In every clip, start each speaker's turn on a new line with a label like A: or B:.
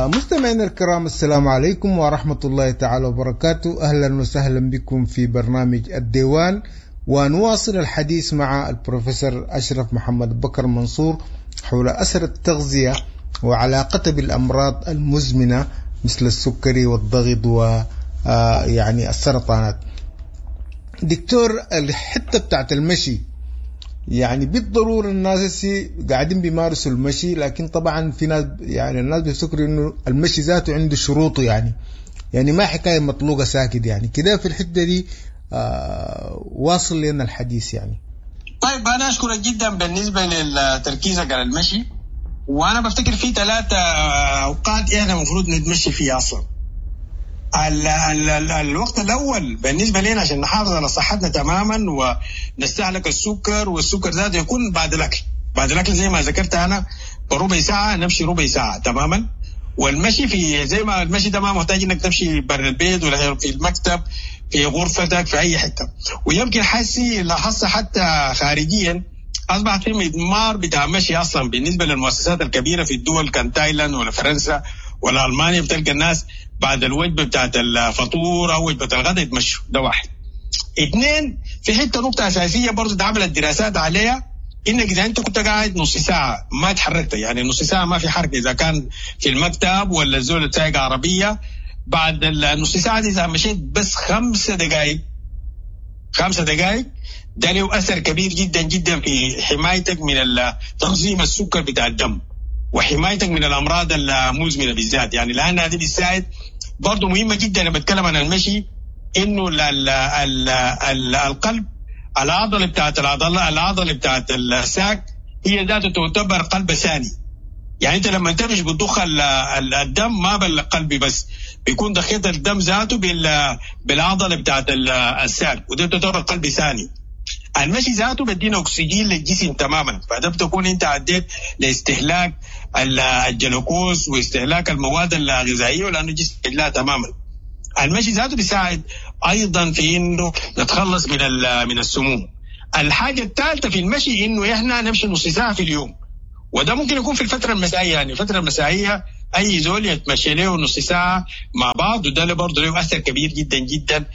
A: مستمعينا الكرام، السلام عليكم ورحمة الله تعالى وبركاته. أهلا وسهلا بكم في برنامج الديوان، ونواصل الحديث مع البروفيسور أشرف محمد بكر منصور حول أثر التغذية وعلاقتها بالأمراض المزمنة مثل السكري والضغط و يعني السرطانات. دكتور، الحتة بتاعت المشي يعني بالضرورة الناس هسي قاعدين بيمارسوا المشي، لكن طبعا في ناس يعني الناس بيفتكروا انه المشي ذاته عنده شروطه، يعني ما حكاية مطلوقة ساكت يعني كده. في الحتة دي واصل لنا الحديث يعني.
B: طيب، أنا أشكرك جدا بالنسبة لتركيزك على المشي، وأنا بفتكر في 3 أوقات إحنا المفروض نتمشي فيها أصلا. ال ال ال الوقت الأول بالنسبة لنا عشان نحافظ على صحتنا تماما ونستهلك السكر، والسكر ذاته يكون بعد الأكل. بعد الأكل زي ما ذكرت أنا بربع ساعة نمشي ربع ساعة تماما. والمشي في زي ما المشي ده ما محتاج إنك تمشي برا البيت ولا في المكتب، في غرفتك، في أي حتة. ويمكن حسي لاحظت حتى خارجيا أصبح في مضمار بتاع مشي أصلا بالنسبة للمؤسسات الكبيرة في الدول، كان تايلاند ولا فرنسا ولا ألمانيا، بتلقى الناس بعد الوجبة بتاعت الفطور أو وجبة الغداء يتمشوا. ده واحد. 2، في حتة نقطة أساسية برضو اتعملت دراسات عليها، إنك إذا أنت كنت قاعد نص ساعة ما تحركت، يعني نص ساعة ما في حركة، إذا كان في المكتب ولا الزول سايق عربية، بعد النص ساعة دي إذا مشيت بس 5 دقائق، 5 دقائق ده له أثر كبير جدا جدا في حمايتك من تنظيم السكر بتاع الدم وحمايتك من الأمراض المزمنة بالذات. لأن هذه بتساعد برضو مهمة جدا. لما بتكلم عن المشي إنه القلب، العضلة بتاعت العضلة، العضلة بتاعت الساق هي ذاته تعتبر قلب ثاني. أنت لما تمشي بتضخ الدم ما بالقلب بس، بيكون ضخيت الدم ذاته بالعضلة بتاعت الساق، وده تعتبر قلب ثاني. المشي ذاته بدينا أكسجين للجسم تماما، فده بتكون أنت عديت لاستهلاك الجلوكوز واستهلاك المواد الغذائية، ولأنه الجسم لا تماما. المشي ذاته بيساعد أيضا في إنه نتخلص من السموم. الحاجة الثالثة في المشي إنه إحنا نمشي نص ساعة في اليوم، وده ممكن يكون في الفترة المسائية. الفترة المسائية أي زول يتمشى له نص ساعة مع بعض، وده برضه له أثر كبير جدا جدا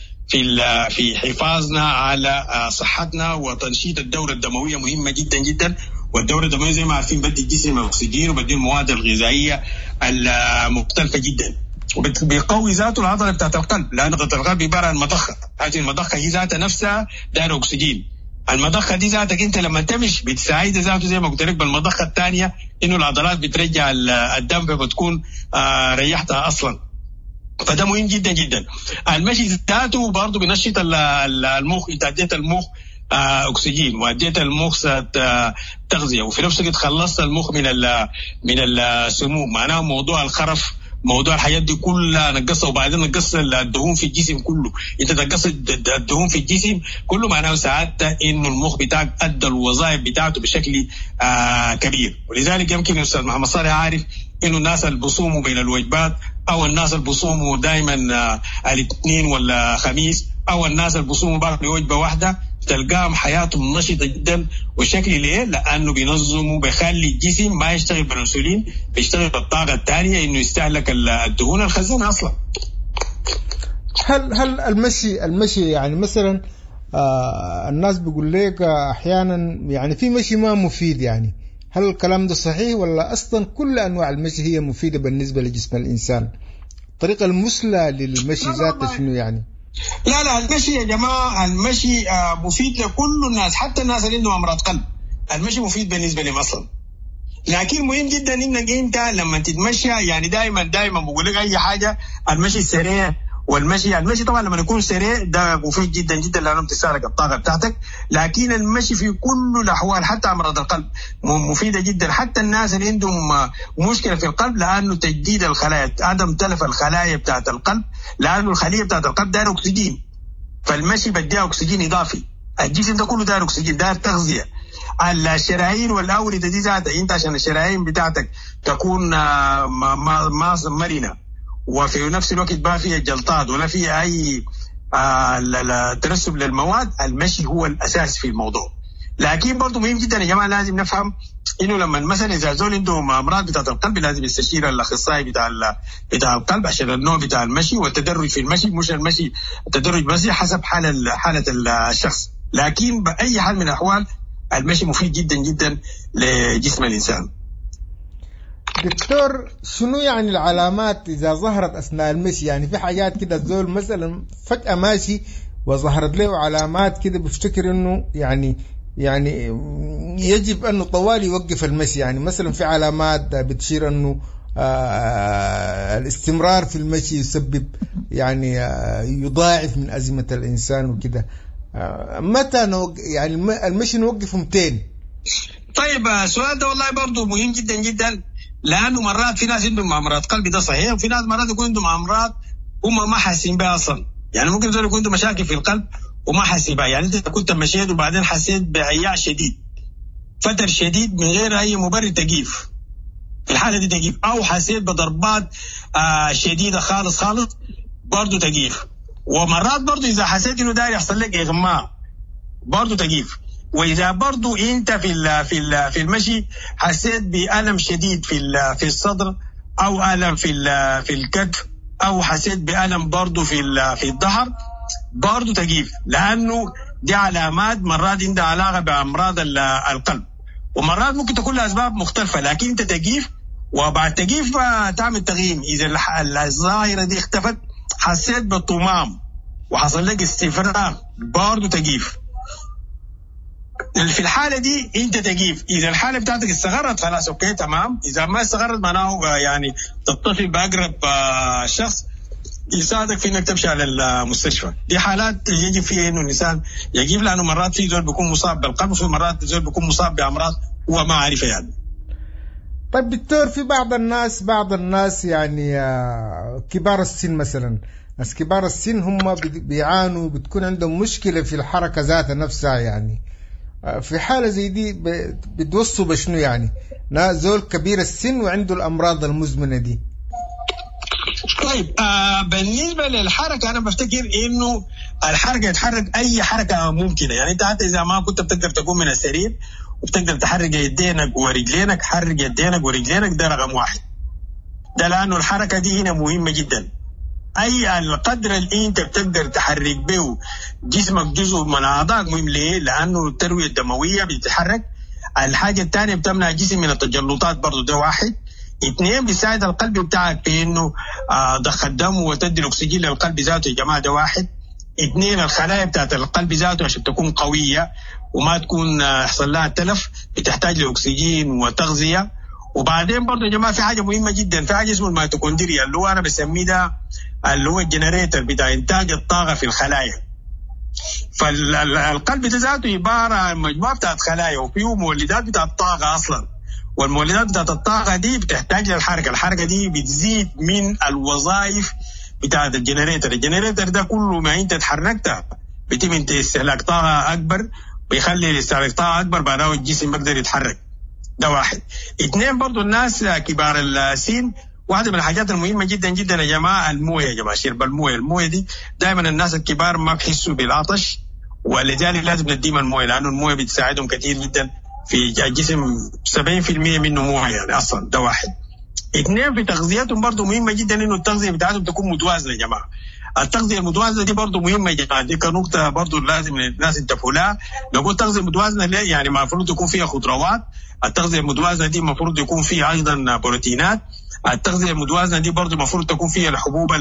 B: في حفاظنا على صحتنا وتنشيط الدورة الدموية مهمة جدا جدا. والدورة الدموية زي ما عارفين بدي الجسم أكسجين وبدي المواد الغذائية المختلفة جدا، بيقوي ذاته العضلة بتاعت القلب، لأن عضلة القلب عبارة عن مضخة، هذه المضخة هي ذاتها نفسها دايرة أكسجين. المضخة دي ذاتك أنت لما تمشي بتساعد ذاته زي ما قلت لك بالمضخة الثانية إنه العضلات بترجع الدم، فبتكون ريحتها أصلا. فده مهم جدا جدا. المشي ذاته برضه بينشط المخ، انت اديت المخ اكسجين واديت المخ تغذيه، وفي نفس الوقت خلصت المخ من السموم. معناه موضوع الخرف، موضوع الحاجات دي كلها نقصها، وبعدين نقص الدهون في الجسم كله. انت تنقص الدهون في الجسم كله، معناه ساعتها انه المخ بتاعك ادى الوظائف بتاعته بشكل كبير. ولذلك يمكن الاستاذ محمد صالح عارف انه الناس اللي بيصوموا بين الوجبات، او الناس اللي بيصوموا دايما، الاثنين ولا خميس، او الناس اللي بيصوموا بعد وجبه واحده، تلقاهم حياتهم نشطه جدا. والشكل ليه؟ لانه بينظموا، بيخلي الجسم ما يشتغل بالانسولين، بيشتغل بالطاقه الثانيه انه يستهلك الدهون الخزانه اصلا.
A: هل المشي مثلا، الناس بيقول لك احيانا في مشي ما مفيد، هل الكلام ده صحيح ولا أصلا كل أنواع المشي هي مفيدة بالنسبة لجسم الإنسان؟ الطريقة المثلى للمشي ذاته شنو يعني؟
B: لا، لا، المشي يا جماعة، المشي مفيد لكل الناس، حتى الناس اللي عندهم أمراض قلب المشي مفيد بالنسبة لهم أصلا. لكن مهم جدا إنك أنت لما تتمشى، دايما بقول لك أي حاجة، المشي السريع والمشي، المشي طبعا لما يكون سريع ده مفيد جدا جدا لأنه بتستهلك الطاقة بتاعتك، لكن المشي في كل الأحوال حتى أمراض القلب مفيدة جدا، حتى الناس اللي عندهم مشكلة في القلب، لأنه تجديد الخلايا، عدم تلف الخلايا بتاعت القلب، لأنه الخلية بتاعت القلب داير أكسجين، فالمشي بديها أكسجين إضافي. الجسم ده كله داير أكسجين، داير تغذية. الشرايين والأوردة دي ذاتها، أنت عشان الشرايين بتاعتك تكون مرنة، وفي نفس الوقت ما فيها جلطات ولا فيها أي ترسب للمواد، المشي هو الأساس في الموضوع. لكن برضه مهم جدا يا جماعة لازم نفهم انه لما مثلا اذا زول عنده امراض بتاعت القلب لازم يستشير الاخصائي بتاع القلب عشان النوع بتاع المشي والتدرج في المشي، مش المشي التدرج بس حسب حاله الشخص. لكن باي حال من الاحوال المشي مفيد جدا جدا لجسم الانسان.
A: دكتور، شنو يعني العلامات اذا ظهرت اثناء المشي؟ يعني في حاجات كده الزول مثلا فجأة ماشي وظهرت له علامات كده بيفتكر انه يعني يجب انه طوال يوقف المشي. يعني مثلا في علامات بتشير انه الاستمرار في المشي يسبب يعني يضاعف من أزمة الإنسان وكده. متى يعني المشي نوقفه 200؟
B: طيب السؤال ده والله برضه مهم جدا جدا، لأنه مرات في ناس عندهم أمراض قلب ده صحيح، وفي ناس مرات يكون عندهم أمراض هم ما حاسين بها أصلا. يعني ممكن زول يكون عنده مشاكل في القلب وما حاسين بها. يعني أنت كنت مشيت وبعدين حسيت بعياء شديد، فتر شديد من غير أي مبرر، تجيف في الحالة دي تجيف، أو حسيت بضربات شديدة خالص خالص برضو تجيف. ومرات برضو إذا حسيت إنه داير يحصل لك إغماء برضو تجيف. وإذا برضو أنت في المشي حسيت بألم شديد في الصدر، أو ألم في الكتف، أو حسيت بألم برضو في الظهر برضو تجيف، لأنه دي علامات مرات عندها علاقة بأمراض القلب، ومرات ممكن تكون لأسباب مختلفة. لكن أنت تجيف، وبعد تجيف تعمل تغييم. إذا الظاهرة دي اختفت، حسيت بالطمام وحصل لك استفراغ برضو تجيف. في الحالة دي أنت تجيف. إذا الحالة بتاعتك استغرت خلاص okay تمام، إذا ما استغرت معناه يعني تتصل بأقرب شخص يساعدك في انك تمشي على المستشفى. دي حالات يجب فيها انه الانسان يجيب، لانه مرات في زول بيكون مصاب بالقلب، وفي مرات زول بيكون مصاب بامراض هو ما عارفها يعني.
A: طيب دكتور، في بعض الناس يعني كبار السن مثلا، ناس كبار السن هم بيعانوا، بتكون عندهم مشكلة في الحركة ذاتها نفسها. يعني في حالة زي دي بتوصوا بشنو يعني؟ زول كبير السن وعنده الأمراض المزمنة دي.
B: طيب بالنسبة للحركة، أنا بفتكر إنه الحركة يتحرك أي حركة ممكنة. يعني أنت حتى إذا ما كنت بتقدر تقوم من السرير وبتقدر تحرك يدينك ورجلينك، حرك يدينك ورجلينك، ده رقم واحد. ده لأنه الحركة دي هنا مهمة جدا. أي القدر اللي أنت بتقدر تحرك به جسمك جزء من أعضائك مهم. ليه؟ لأنه التروية الدموية بتتحرك. الحاجة الثانية بتمنع الجسم من التجلطات برضو، ده واحد. اثنين، بيساعد القلب بتاعك في انه ضخ الدم وتدي الاكسجين للقلب ذاته يا جماعة، ده واحد. اثنين، الخلايا بتاعت القلب ذاته عشان تكون قوية وما تكون يحصل لها تلف بتحتاج لاكسجين وتغذية. وبعدين برضه يا جماعة في حاجة مهمة جدا، في حاجة اسمه الميتوكوندريا اللي هو انا بسميه ده اللي هو ال generator بتاع انتاج الطاقة في الخلايا. فالقلب ده ذاته عبارة عن مجموعة بتاعت خلايا وفيه مولدات بتاعت طاقة اصلا، والمولدات بتاعت الطاقة دي بتحتاج للحركة. الحركة دي بتزيد من الوظائف بتاعت ال generator. ال generator ده كله ما انت تحركت بيتم انت استهلاك طاقة اكبر، بيخلي استهلاك طاقة اكبر، بعدها الجسم بيقدر يتحرك. ده واحد. اثنين، برضو الناس كبار السن، واحدة من الحاجات المهمة جدا جدا يا جماعة الموية يا جماعة، شرب الموية. الموية دي دائما الناس الكبار ما بيحسوا بالعطش، ولذلك لازم نديهم الموية، لأنه الموية بتساعدهم كثير جدا في الجسم. 70% منه مويه يعني اصلا. ده واحد. اثنين، في تغذيتهم برضه مهمة جدا انه التغذية بتاعتهم تكون متوازنة يا جماعة. التغذية المتوازنه دي برضه مهمة يا جماعة، دي كنقطه برضه لازم الناس ينتبهوا لها. نقول تغذية متوازنة ليه؟ يعني المفروض يكون فيها خضروات، التغذية المتوازنه دي المفروض يكون فيها ايضا بروتينات، التغذية المتوازنه دي برضه المفروض تكون فيها الحبوب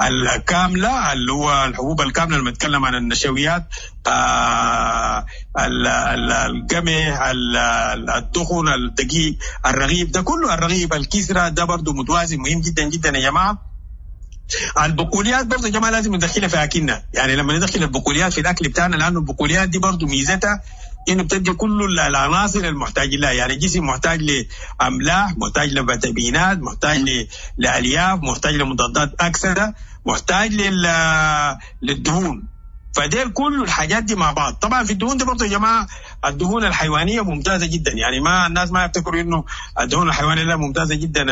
B: الكاملة، اللي هو الحبوب الكاملة لما نتكلم عن النشويات، القمح، الدخن، الدقيق، الرغيف، ده كله الرغيف، الكسرة، ده برضه متوازن مهم جدا جدا يا جماعة. البقوليات برضه يا جماعة لازم ندخلها في أكلنا، يعني لما ندخل البقوليات في الأكل بتاعنا، لأنه البقوليات دي برضه ميزتها إنه بتدي كل العناصر المحتاج لها. يعني الجسم محتاج لأملاح، محتاج لفيتامينات، محتاج لألياف، محتاج لمضادات أكسدة، محتاج للدهون. فديل كل الحاجات دي مع بعض. طبعا في الدهون دي برضه يا جماعة الدهون الحيوانية ممتازة جدا، يعني ما الناس ما يفتكروا انه الدهون الحيوانية لا ممتازة جدا.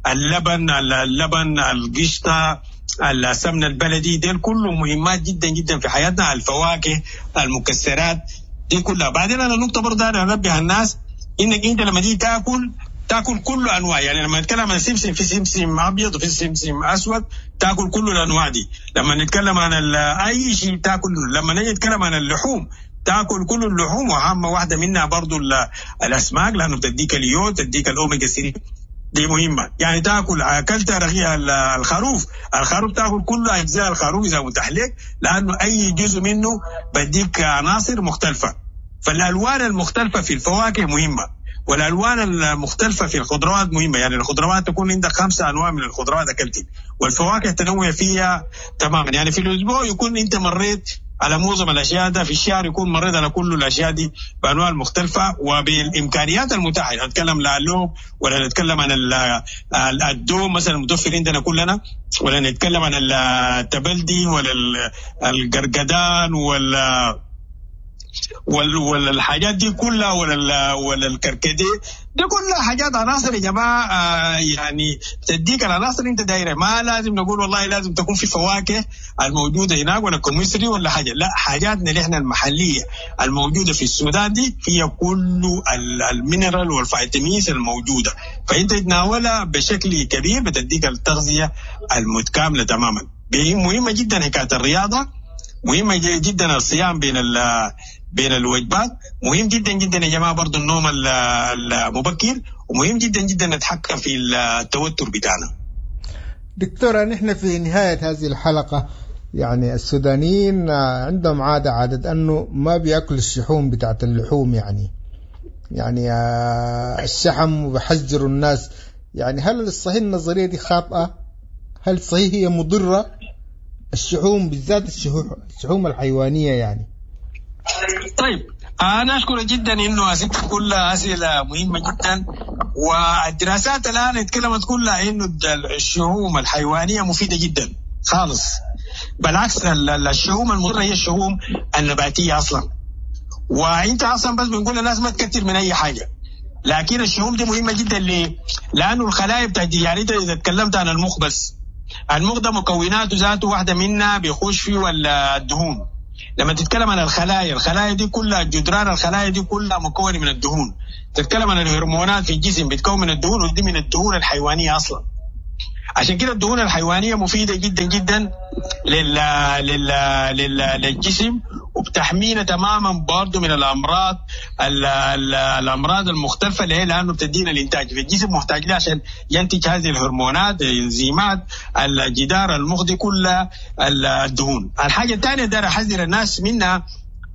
B: اللبن، القشطه، السمنة البلدي، ديل كله مهمات جدا جدا في حياتنا. الفواكه، المكسرات، دي كلها. بعدين انا نقطة برضه انا انبه الناس انك انت لما تيجي تاكل كل انواع، يعني لما نتكلم عن السمسم في سمسم ابيض وفي سمسم اسود، تاكل كل الانواع دي. لما نتكلم عن اي شيء تاكل، لما نيجي نتكلم عن اللحوم تاكل كل اللحوم، واهم واحدة منها برضو الاسماك لانه بتديك اليود، تديك الاوميجا 3، دي مهمة. يعني تاكل، اكلت رغيف الخروف، الخروف تاكل كل اجزاء الخروف اذا متاح لك، لانه اي جزء منه بديك عناصر مختلفة. فالالوان المختلفة في الفواكه مهمة، والالوان المختلفة في الخضروات مهمة. يعني الخضروات تكون عندك 5 انواع من الخضروات اكلتي، والفواكه تنوع فيها تماما. يعني في الاسبوع يكون انت مريت على معظم الاشياء ده، في الشهر يكون مريت على كل الاشياء دي بانواع المختلفة وبالامكانيات المتاحة. يعني نتكلم لا اللوب، ولا نتكلم عن الدوم مثلا المتوفر عندنا كلنا، ولا نتكلم عن التبلدي ولا القرقدان ولا ولا الحاجات دي كلها، ولا الكركديه دي كلها حاجات عناصر يا جماعة، يعني تديك العناصر انت دايرة. ما لازم نقول والله لازم تكون في فواكه الموجودة هناك ولا كوميسري ولا حاجة، لا، حاجاتنا اللي احنا المحلية الموجودة في السودان دي فيها كل ال mineral وال vitamins الموجودة، فانت تتناولها بشكل كبير بتديك التغذية المتكاملة تماما. مهمة جدا حكاية الرياضة، مهمة جدا الصيام بين الوجبات، مهم جدا جدا يا جماعة برضو النوم المبكر، ومهم جدا جدا نتحكم في التوتر بتاعنا.
A: دكتورة، نحن في نهاية هذه الحلقة، يعني السودانيين عندهم عادة أنه ما بيأكلوا الشحوم بتاعت اللحوم، يعني الشحم، وبحذروا الناس. يعني هل الصحيح النظرية دي خاطئة؟ هل صحيح هي مضرة الشحوم، بالذات الشحوم الحيوانية يعني؟
B: طيب، أنا أشكر جدا إنه أسئلة كلها أسئلة مهمة جدا، والدراسات الآن اتكلمت كلها إنه الشحوم الحيوانية مفيدة جدا خالص. بالعكس الشحوم المضرة هي الشحوم النباتية أصلا، وأنت أصلا بس بنقول للناس ما تكتر من أي حاجة، لكن الشحوم دي مهمة جدا. ليه؟ لأنه الخلايا بتاعت، يعني أنت إذا تكلمت عن المخ بس، المخ ده مكوناته ذاته واحدة منها بيخش فيه الدهون. لما تتكلم عن الخلايا، الخلايا دي كلها جدران الخلايا دي كلها مكونة من الدهون. تتكلم عن الهرمونات في الجسم بتكون من الدهون، ودي من الدهون الحيوانية أصلا. عشان كده الدهون الحيوانية مفيدة جدا جدا لل لل لل للجسم، وبتحمينا تماما برضه من الأمراض الأمراض المختلفة اللي هي لأنه بتدينا الإنتاج في الجسم محتاج لها عشان ينتج هذه الهرمونات، الإنزيمات، الجدار المخ دي كلها الدهون. الحاجة الثانية دار أحذر الناس منها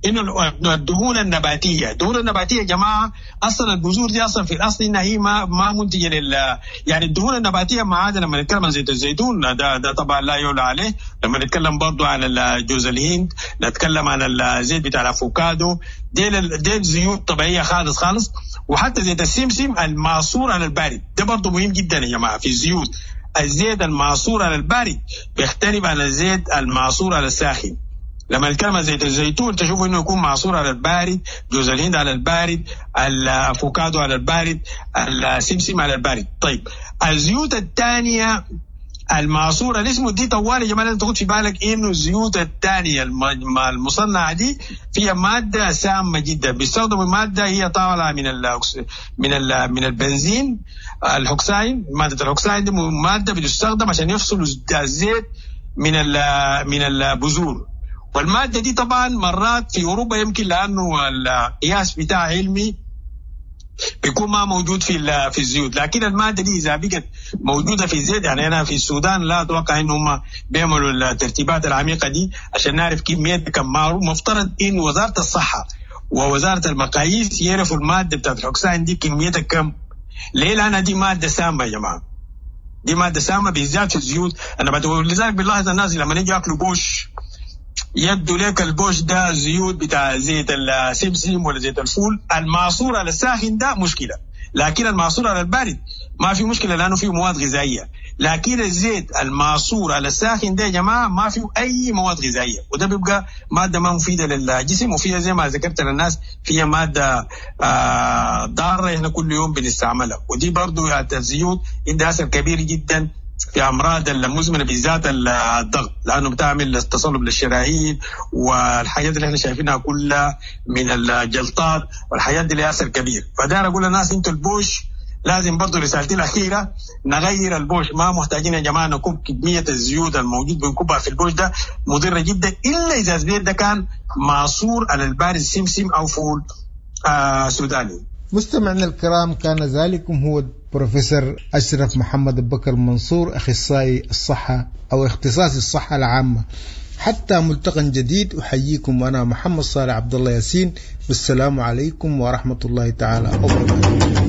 B: إنه الدهون النباتية، الدهون النباتية يا جماعة أصلا البذور دي أصلا في الأصل إنها هي ما منتجة لل، يعني الدهون النباتية ما عدا لما نتكلم عن زيت الزيتون ده طبعا لا يعلى عليه، لما نتكلم برضو عن جوز الهند، نتكلم عن الزيت بتاع الأفوكادو، ديل زيوت طبيعية خالص خالص. وحتى زيت السمسم المعصور على البارد ده برضو مهم جدا يا جماعة في الزيوت. الزيت المعصور على البارد بيختلف عن الزيت المعصور على الساخن. لما نتكلم عن زيت الزيتون تشوفوا انه يكون معصور على البارد، جوز الهند على البارد، الافوكادو على البارد، السمسم على البارد. طيب الزيوت الثانية المعصوره اللي اسمه دي طوال يا جماعة لازم تاخد في بالك انه الزيوت الثانية المصنعة دي فيها مادة سامة جدا. بيستخدموا مادة هي طالعه من البنزين الهوكساين. مادة الهوكساين دي مادة بتستخدم عشان يفصلوا الزيت من البذور. والمادة دي طبعا مرات في أوروبا يمكن لأنه القياس بتاع علمي بيكون ما موجود في الزيوت، لكن المادة دي إذا بقت موجودة في الزيت، يعني أنا في السودان لا أتوقع إن هم بيعملوا الترتيبات العميقة دي عشان نعرف كمية كم. مفترض إن وزارة الصحة ووزارة المقاييس يعرفوا المادة بتاعت الهوكساين دي كميتها كم. ليه؟ لأن دي مادة سامة يا جماعة، دي مادة سامة بالذات في الزيوت. أنا لذلك بنلاحظ الناس لما يجوا ياكلوا بوش يبدو لك البوش ده زيوت بتاع زيت السمسم ولا زيت الفول المعصور على الساخن ده مشكلة، لكن المعصور على البارد ما في مشكلة لأنه فيه مواد غذائية. لكن الزيت المعصور على الساخن ده يا جماعة ما فيه أي مواد غذائية، وده بيبقى مادة ما مفيدة للجسم، وفيها زي ما ذكرت للناس فيها مادة ضارة احنا كل يوم بنستعملها. ودي برضو الزيوت عندها أثر كبير جدا في امراض المزمنة بالذات الضغط، لانه بتعمل تصلب للشرايين والحاجات اللي احنا شايفينها كلها من الجلطات والحاجات دي لها اثر كبير. فدار اقول للناس انتوا البوش لازم برضه، رسالتي الاخيرة، نغير البوش. ما محتاجين يا جماعة نكب كمية الزيوت الموجود بنكبها في البوش، ده مضرة جدا، الا اذا الزيت ده كان معصور على البارد سمسم او فول سوداني.
A: مستمعينا الكرام، كان ذلكم هو بروفيسور أشرف محمد بكر منصور، أخصائي الصحة أو اختصاصي الصحة العامة. حتى ملتقى جديد، أحييكم وأنا محمد صالح عبد الله ياسين، والسلام عليكم ورحمة الله تعالى وبركاته.